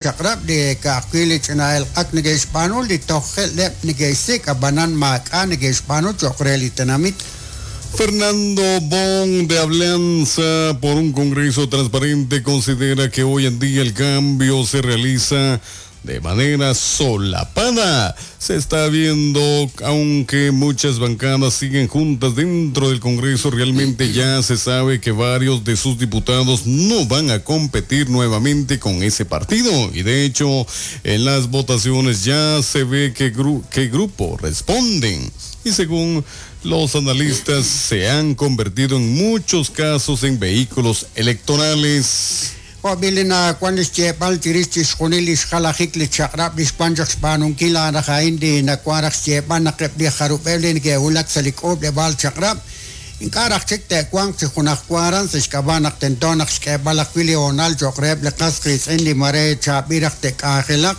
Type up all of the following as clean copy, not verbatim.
Chaq'rab' li ka'ajwi' li ch'ina elq'ak neke'xb'aanu li tojleb' neke'xsik' ab'anan maak'a' neke'xb'aanu cho'q re li tenamit. Fernando Bon de Alianza por un Congreso Transparente considera que hoy en día el cambio se realiza de manera solapada. Se está viendo, aunque muchas bancadas siguen juntas dentro del Congreso, realmente ya se sabe que varios de sus diputados no van a competir nuevamente con ese partido. Y de hecho, en las votaciones ya se ve qué, qué grupo responden. Y según los analistas, se han convertido en muchos casos en vehículos electorales. Jo' b'i' li nawank li xyeeb'al chirix chixjunil li xjalajik li chaq'rab' li xwank chaq xb'aanunkil a'an raj a'in li nawank raj xyeeb'al naq eb' li jarub'eb' li neke'wulak sa' li k'uub'leb'aal chaq'rab' ink'a' raj chik te'wanq chi junajwa aran sa' xk'ab'a' naq tento naq xk'eeb'al ajwi' li hoonal cho'q reheb' li qas qiitz'in li mare chaab'il raj te'k'anjelaq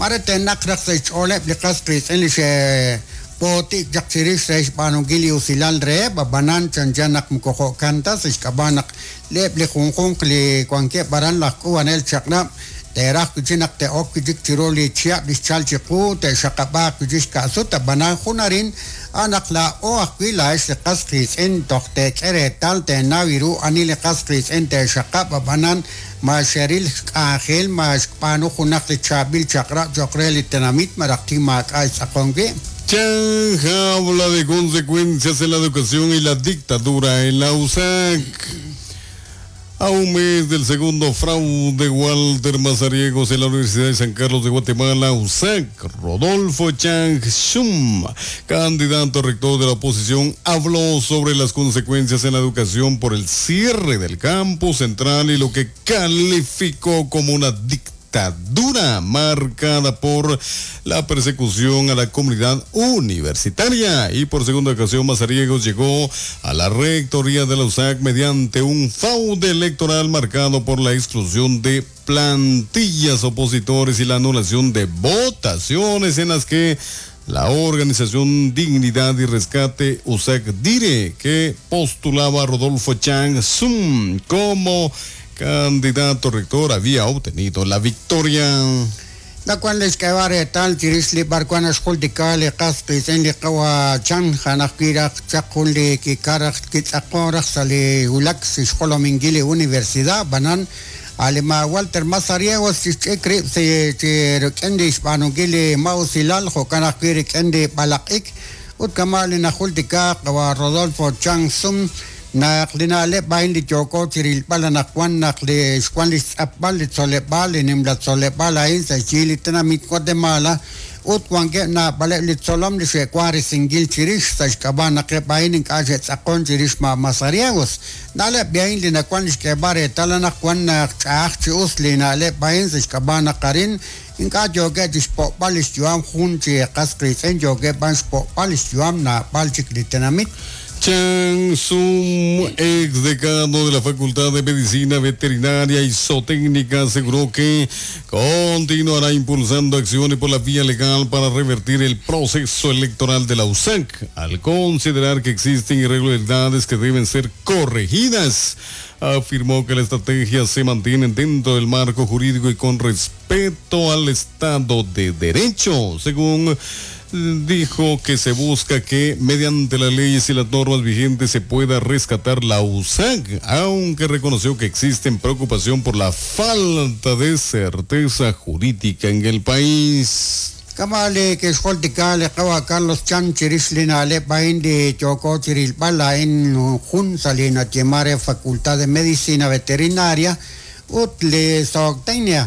mare te'naq raj sa' xch'ooleb' li qas qiitz'in li xe'b'ooti'k chaq chirix re xb'aanunkil li usilal reheb' ab'anan chanchan naq moko jo'kan ta sa' xk'ab'a' naq eb' li junjunq li wankeb' aran laj k'uub'anel chaq'rab' te'raj wi' chik naq te'ok wi' chik chiru li chihab' li xchalk chiqu te'xaqab'aaq wi' chik xka'sut ab'anan jun arin a' naq laa'o ajwi' laa'ex li qas qiitz'in toj teek'e reetal teenaw ru ani li qas qiitz'in te'xaqab' ab'anan ma xeril xk'anjel ma xb'aanu junaq li chaab'il chaq'rab' cho'q re li tenamit malaj tik maak'a' xtz'aqon wi'. Chang habla de consecuencias en la educación y la dictadura en la USAC. A un mes del segundo fraude Walter Mazariegos en la Universidad de San Carlos de Guatemala, USAC, Rodolfo Chang Shum, candidato a rector de la oposición, habló sobre las consecuencias en la educación por el cierre del campus central y lo que calificó como una dictadura marcada por la persecución a la comunidad universitaria. Y por segunda ocasión, Mazariegos llegó a la rectoría de la USAC mediante un fraude electoral marcado por la exclusión de plantillas opositores y la anulación de votaciones en las que la organización Dignidad y Rescate USAC Dire, que postulaba a Rodolfo Chang Sum como candidato rector, había obtenido la victoria. Nawank li xk'eeb'al reetal chirix li b'arwan naxjultika li qas qiitz'in li qawa Chan a'an ajwi' raj chaq jun li kikaraj kitz'aqon raj sa' li wulak sa' xjolominkil li universidad ab'anan a' li ma Walter Mazariegos xch'ik rib' chi rik'in li xb'aanunkil li ma'usilal jo'kan ajwi' rik'in li b'alaq'ik ut kama' li najultika qawa Rodolfo Chang Sum naq li na'leb' a'in li yooko chi rilb'al anaqwan naq li xwank li xtz'apb'al li tzoleb'aal li nimla tzoleb'aal a'in sa' xyi li tenamit Guatemala ut wankeb' naab'aleb' li tzolom li xe'wank risinkil chirix sa' xk'ab'a' naq eb' a'in ink'a' xe'tz'aqon chirix ma Mazariegos na'leb' a'in li nawank li xk'eeb'al reetal anaqwan naq ch'a'aj chi us li na'leb' a'in sa' xk'ab'a' naq arin ink'a' yookeb' chi xpo'b'al li xyu'am jun chi qas qiitz'in yookeb' b'an xpo'b'al li xyu'am naab'al chik li tenamit. Chang Sum, ex decano de la Facultad de Medicina Veterinaria y Zootécnica, aseguró que continuará impulsando acciones por la vía legal para revertir el proceso electoral de la USAC, al considerar que existen irregularidades que deben ser corregidas. Afirmó que la estrategia se mantiene dentro del marco jurídico y con respeto al Estado de Derecho, según dijo que se busca que mediante las leyes y las normas vigentes se pueda rescatar la USAC, aunque reconoció que existe preocupación por la falta de certeza jurídica en el país. Kama' li kixjultika li qawa Carlos Chan chirix li na'leb' a'in li yooko chi rilb'al a'in jun sa' li nayeeman re Facultad de Medicina Veterinaria ut li Zootecnia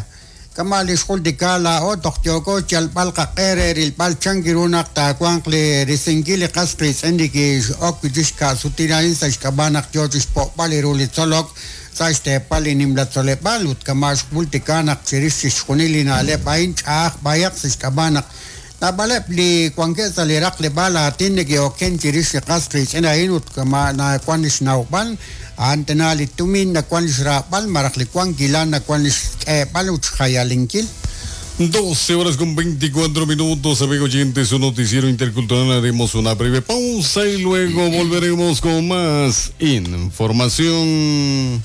kama' li xjultika laa'o toj yooko xyalb'al qaq'e re rilb'al chan ru naq taawanq li risinkil li qas qiitz'in li kix'ok wi' chik xka'sutil a'in sa' xk'ab'a' naq yoo chi xpo'b'al ru li tzolok sa' xteepal li nimla tzoleb'aal ut kama' xjultika naq chirix chixjunil li na'leb' a'in ch'a'aj b'ayaq sa' xk'ab'a' naq naab'aleb' li wankeb' sa' li raqleb'aal aatin neke'oken chirix li qas qiitz'in a'in ut kama' nawank li xnawb'al a'an tana li tumin nawank li xraab'al malaj li wankilal nawank li xk'eeb'al ut xjayalinkil. 12 horas con 24 minutos, amigos oyentes, su noticiero intercultural. Haremos una breve pausa y luego volveremos con más información.